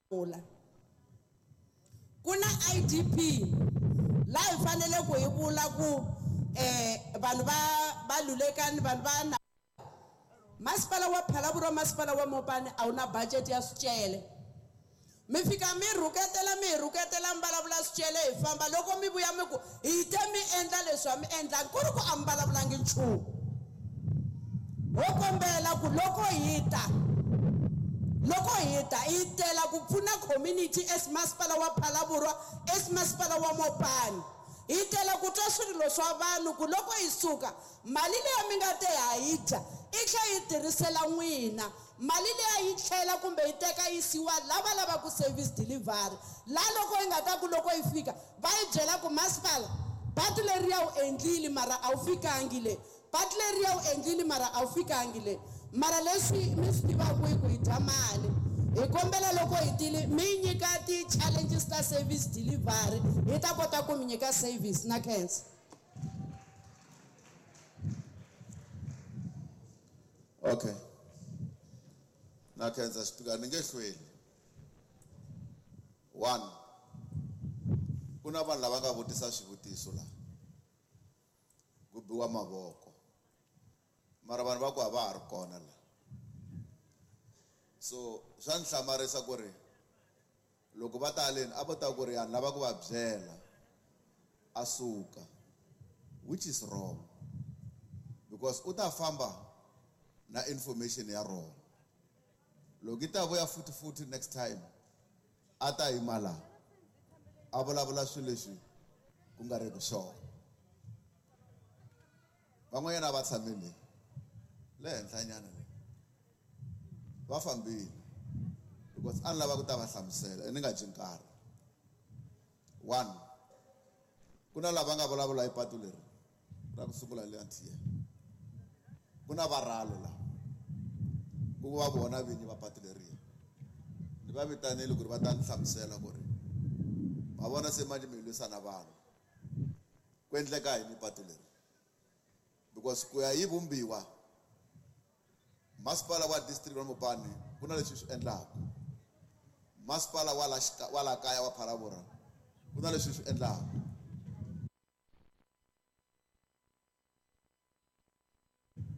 Vula ku na IDP laha hi fanele ku hi vula ku vanhu va va Lulekani, vanhu va na masipala wa Phalaborwa, masipala wa Mopani a wu na budget ya swicele. Mi fika mi rhuketela, mi hi rhuketela, mi vulavula swicele, hi famba. Loko mi vuya mi ku hi te mi endla leswi a mi endlangi, ku ri ku a mi vulavulangi nchumu. Ho kombela ku loko hi ta, loko hi ta hi tela ku pfuna community as masipala wa Phalaborwa, as masipala wa Mopani. Hi tela ku twa swirilo swa vanhu ku loko hi suka mali leyi mi nga te ha yi dya i tlhela yi tirhisela n'wina. Mali leyi yi tlhela kumbe yi teka yisiwa lava lavaku service delivery. La loko yi nga ta ku loko yi fika va yi byela ku masipala patu leriya wu endlile mara a wu fikangi le, patu leriya wu endlile mara a wu fikangi le. Mara leswi mi swi tivaka i ku hi dya mali. Hi kombela loko hi tile mi nyika ti-challenges ta service delivery, hi ta kota ku mi nyika service na khensa. Okay. Na khensa Speaker, ni nge hlweli. One, ku na vanhu lava nga vutisa swivutiso la. Ku biwa mavoko. Mara vanhu va ku a va ha ri kona la. So swa ni hlamarisa ku ri loko va ta haleni a va ta ku ri ya ni lava ku va byela a suka, which is wrong, because u ta famba na information ya wrong. Loko yi ta vuya futhi futhi next time a ta yima la a vulavula swilo leswi ku nga ri ku swona. Van'wanyana a va tshame le le henhlanyana le, va fambile because a ni lava ku ta va hlamusela ni nga dyi nkarhi. One, ku na lava nga vulavula hi patu leri ra ku sungula le Antiya. Ku na varhalo la ku va vona vinyi va patu leriya. Ni va vitanile ku ri va ta ni hlamusela ku ri ma vona se manje mi lwisa na vanhu, ku endleka yini patu leri, because ku ya yi vumbiwa masipala wa district wa Mopani ku na leswi swi endlaka, masipala wa la wa la kaya wa Phalaborwa ku na leswi swi endlaka.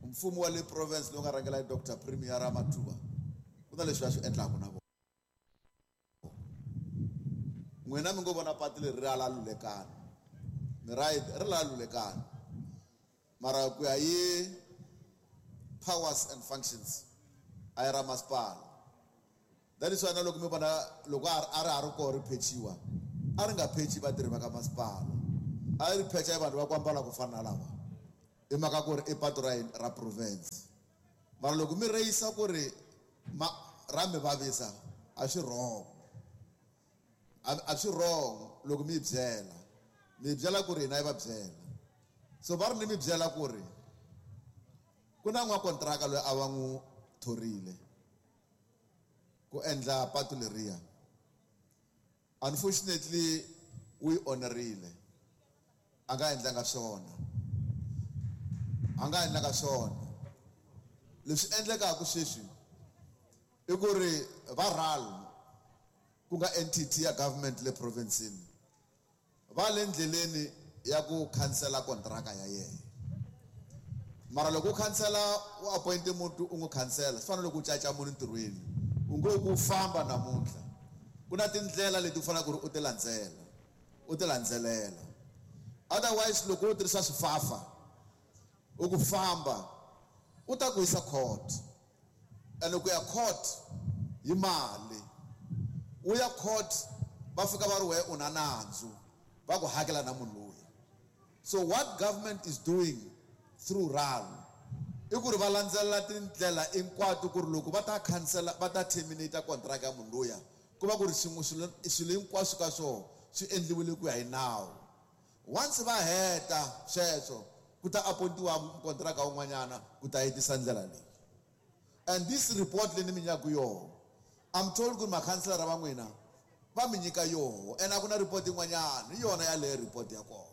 Mfumo wa le province lowu nga rhangela hi Dr. Premier Ramathuba ku na leswi va swi endlaka na vona. N'wina mi ngo vona patu leri ri ala Lulekani, ni right, ri la Lulekani, mara ku ya hi powers and functions a yi ra masipala. That is why na loko mi vona loko a ri ha ri koho ri phechiwa, a ri nga phechi vatirhi va ka masipala, a ri phecha hi vanhu va ku ambala ku fana na lava, hi mhaka ku ri i patu ra yini ra province. Mara loko mi reyisa ku ri ra mi vavisa, a swi wrong, a swi wrong loko mi yi byela, mi yi byela ku ri hina yi va byela. So va ri ni mi byela ku ri ku na n'wakontraka loyi a va n'wi thorile ku endla patu leriya. Unfortunately u yi onerile, a nga endlanga swona, a nga endlanga swona. Leswi endlekaka sweswi i ku ri va RAL ku nga entity ya government le province-ini va le ndleleni ya ku khansela kontraka ya yena. Mara loko u khansela u appoint muntu u n'wi khansela, swi fana na loko u caca munhu ntirhweni, u ngo ku famba namuntlha. Ku na tindlela leti u faneleke ku ri u ti landzela, u ti landzelela. Otherwise loko u tirhisa swifafa u ku famba, u ta ku yisa court, and ku ya court hi mali, u ya court va fika va ri we u na nandzu, va ku hakela na munhu loyi. So what government is doing through RAL i ku ri va landzelela tindlela hinkwato ku ri loko va ta khansela, va ta terminate contract ya munhu luya, ku va ku ri xin'we swilo hinkwaswo ka swona swi endliwile ku ya hi nawu. Once va heta sweswo, ku ta appointiwa contract wun'wanyana ku ta hetisa ndlela leyi. And this report leyi ni mi nyikaka yoho, I'm told ku ri makhanselara va n'wina va mi nyika yoho, and a ku na report yin'wanyana, hi yona yaleyo report ya kona.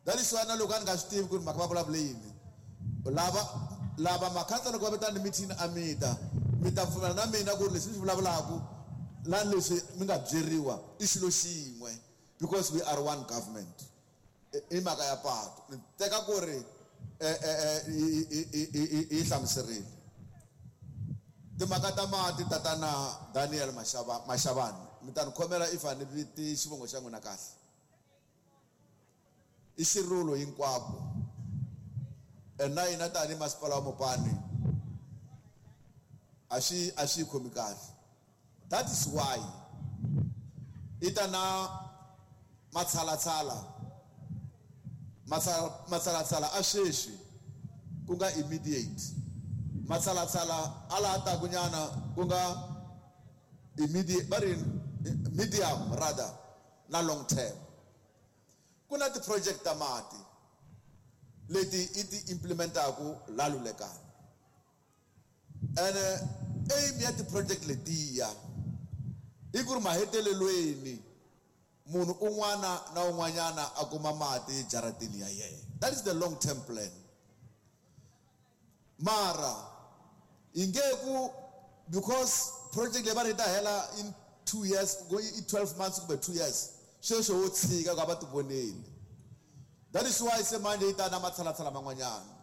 That is why na loko a ni nga swi tivi ku ri mhaka va vulavule yini, lava makhansela loko va vitana meeting a mi ta, mi ta pfumela na mina ku ri leswi ni swi vulavulaka na leswi mi nga byeriwa i xilo xin'we because we are one government. I mhaka ya patu ni teka ku ri yi hlamuserile timhaka ta mati tatana Daniel Mashavani mi ta ni khomela if a ni viti xivongo xa n'wina kahle i xirulo hinkwako and na hina tanihi masipala wa Mopani a xi khomi kahle. That is why i ta na matshalatshala a sweswi ku nga immediate matshalatshala a laha taku nyana ku nga immediate va ri medium rather na long term. Ku na ti-project ta mati leti i ti implementaku la Lulekani and aim ya ti-project letiya i ku ri mahetelelweni munhu un'wana na un'wanyana a kuma mati jaratini ya yena. That is the long term plan. Mara yi nge ku because project leyi va ri ta hela in 2 years go i 12 months kumbe 2 years sweswo wo tshika ku a va ti voneli. That is why se manje yi ta na matshalatshala man'wanyana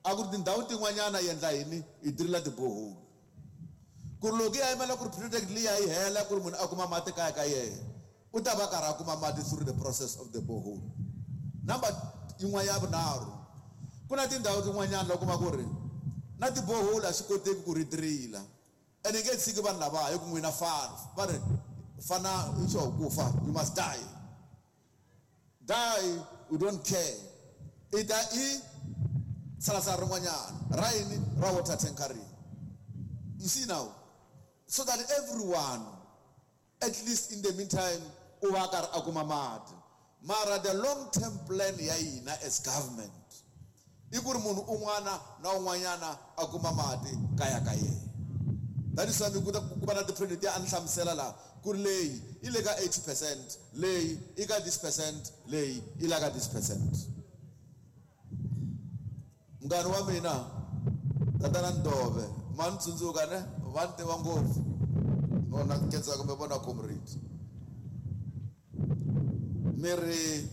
a ku ri tindhawu tin'wanyana yi endla yini yi dirila tiboholi ku ri loko yi yimela ku ri project liya yi hela ku ri munhu a kuma mati kaya ka yena u ta va karhi a kuma mati through the process of the borehole. Number yin'wana ya vunharhu ku na tindhawu tin'wanyana la kuma ku ri na tibohole a swi koteki ku ri dirila and yi nge tshiki vanhu lava hi ku n'wina fana va ri fana i swo ku fa you must die die you don't care i ta i tsalatsala rin'wanyana ra yini ra water tankering. You see now, so that everyone at least in the meantime u va karhi a kuma mati. Mara the long term plan ya hina as government i ku ri munhu un'wana na un'wanyana a kuma mati kaya ka yena. That is why mi kuta ku va na ti-project ya a ni hlamusela laha ku ri leyi yi le ka 80% leyi i ka this percent leyi yi la ka this percent. Munghana wa mina tatana Ndove ma ni tsundzuka ne va ni tiva ngopfu vona khensa kumbe vona comrade mi ri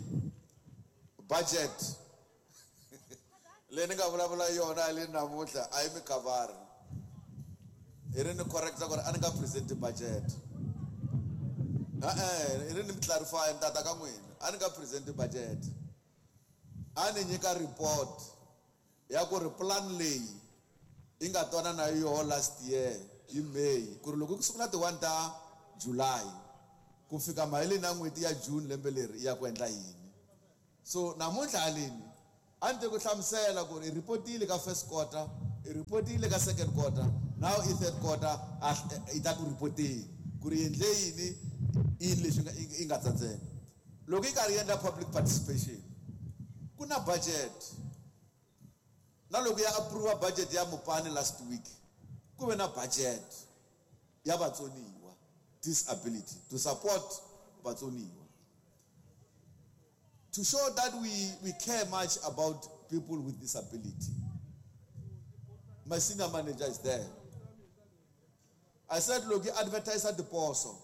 budget leyi ni nga vulavula yona le namuntlha a yi mi khavari hi ri ni correcta ku ri a ni nga present budget e-e hi ri ni mi clarify ni tata ka n'wina a ni nga present budget a ni nyika report ya ku ri plan leyi yi nga twana na yoho last year hi May ku ri loko ku sungula ti 1 ta July ku fika maheleni ya n'hweti ya June lembe leri ya ku endla yini. So namuntlha haleni a ni te ku hlamusela ku ri i report-ile ka first quarter i report-ile ka second quarter now i third quarter i ta ku report-eni ku ri endle yini yini leswi yi nga tsandzeka. Loko yi karhi yi endla public participation ku na budget na loko ya approve budget ya Mopani last week ku ve na budget ya vatsoniwa disability to support vatsoniwa to show that we care much about people with disability. My senior manager is there. I said look, advertise at the poso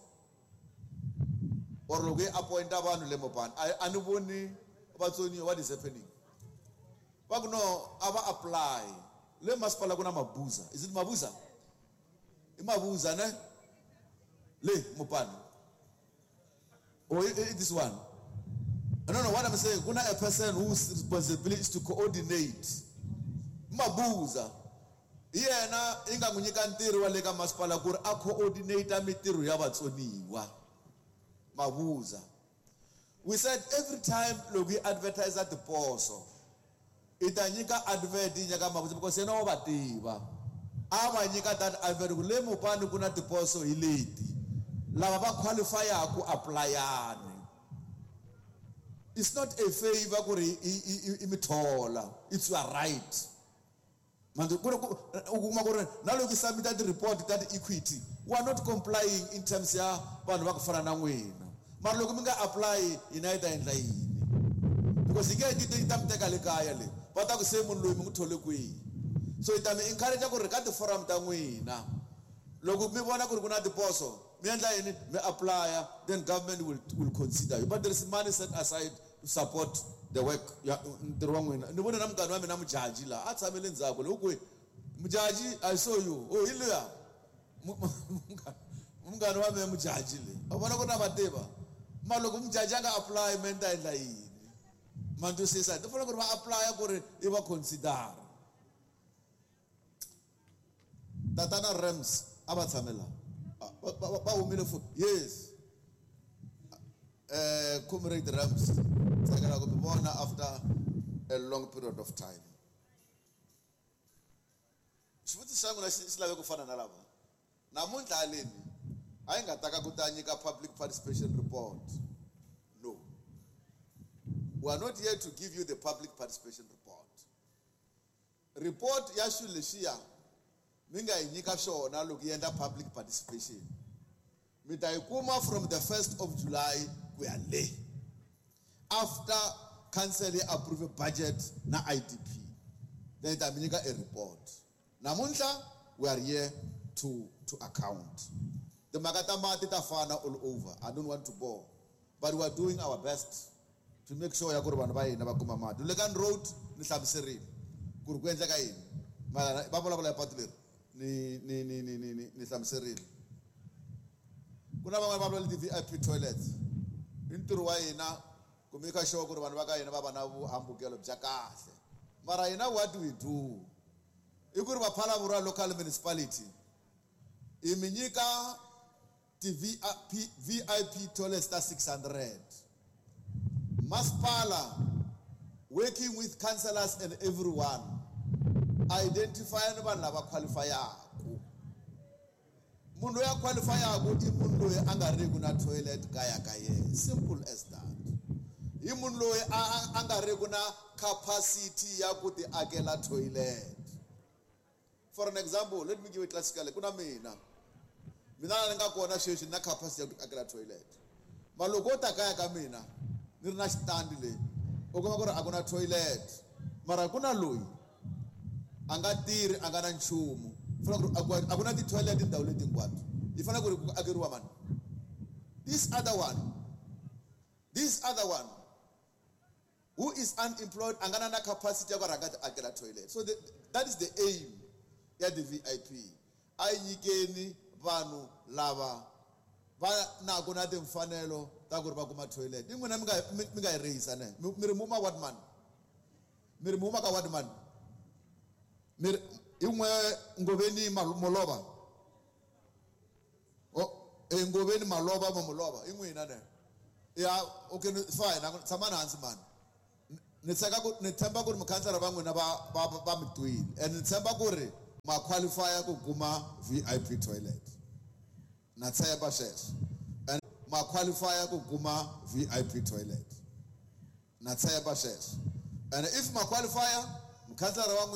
or look appoint vanhu le Mopani a ni voni vatsoniwa what is happening. Va ku no a va apply le masipala ku na Mabuza. Is it Mabuza? I Mabuza ne le Mopani or this one. I don't know what I'm saying. Kuna a person whose responsibility is to coordinate Mabuza yena i nga n'wi nyika ntirho wa le ka masipala ku ri a coordinate mitirho ya vatsoniwa Mabuza. We said every time loko yi advertise at the poso i ta nyika advert yi nyika Mabuza because yena wa va tiva a va nyika that advert ku le Mopani ku na tiposo hi leti lava va qualify-a ku apply-ani. It's not a favor ku ri i mi thola, it's your right. Manje ku u kuma ku ri na loko i submit ti-report ta ti-equity we are not complying in terms ya vanhu va ku fana na n'wina mara loko mi nga apply hina yi ta endla yini because yi nge yi ta mi teka le kaya le va ta ku se munhu loyi mi n'wi thole kwihi. So yi ta mi encourage ku ri ka ti-forum ta n'wina loko mi vona ku ri ku na tiposo Mi endla yini? Mi apply, then government will consider you. But there is money set aside to support the work ya ntirho wa n'wina. Ni vone na munghana wa mina Mujaji laha a tshamele ndzhaku le kwihi. Mujaji, I saw you. Oh, hi luya. Munghana wa mina Mujaji le. U vona ku na va tiva. Ma loko Mujaji a nga apply me ni ta endla yini? Ma twisisa? Ti fanele ku ri va apply ku ri i va consider. Tatana Rams a va tshame laha. Va humile futhi. Yes. Comrade Rams, tsakela ku mi vona after a long period of time. Xivutiso xa n'wina xi lave ku fana na lava. Namuntlha haleni a yi nga ta ka ku ta nyika public participation report. No. We are not here to give you the public participation report. Report ya swilo leswiya mi nga yi nyika swona loko yi endla public participation. Mi ta yi kuma from the 1st of July ku ya le. After council yi approve budget na IDP, then ta mi nyika a report. Namuntlha we are here to account. Timhaka ta mati ta fana all over. I don't want to bore. But we are doing our best to make sure ya ku ri vanhu va hina va kuma mati. Lulekani Road ni hlamuserile ku ri ku endleka yini. Mara va vulavula hi patu leri ni hlamuserile. Ku na van'wani va vulavula ti-VIP toilets. I ntirho wa hina ku make sure ku ri vanhu va ka hina va va na vuhambukelo bya kahle. Mara hina what we do i ku ri va Phalaborwa local municipality i mi nyika ti VIP toilets ta 600. Masipala working with councillors and everyone identify ni vanhu lava qualifyaku. Munhu loyi a qualifyaku i munhu loyi a nga riku na toilet kaya ka yena. Simple as that. I munhu loyi a nga riku na capacity ya ku ti akela toilet. For an example, let me give a classical. Ku na mina. Mina ni nga kona sweswi na capacity ya ku ti akela toilet. Ma loko wo ta kaya ka mina ni ri na xitandi le, u kuma ku ri a ku na toilet. Mara ku na loyi a nga tirhi, a nga na nchumu. Fanele ku ri a ku na ti-toilet tindhawu leti hinkwato. Yi fanele ku ri ku akeriwa mani? This other one, this other one who is unemployed, a nga na capacity ya ku rhanga ti akela toilet. So that is the aim ya the VIP. A yi nyikeni vanhu lava va naku na timfanelo ta ku ri va kuma toilet. I n'wina mi nga yi rihisa ne? Mi ri muma what man? Mi ri muma ka what man? Mi ri i n'we Ngoveni Molova. Oh, Ngoveni Malova ma Molova. I n'wina ne? Ya, okay, fine. Tshamani hansi man. Ni tshemba ku, ni tshemba ku ri mukhansara va n'wina va mi twile. And ni tshemba ku ri ma qualify ku kuma VIP toilet. Na tshemba sweswo. And ma qualify ku kuma VIP toilet. Na tshemba sweswo. And if ma qualify, mukhansara wa n'wina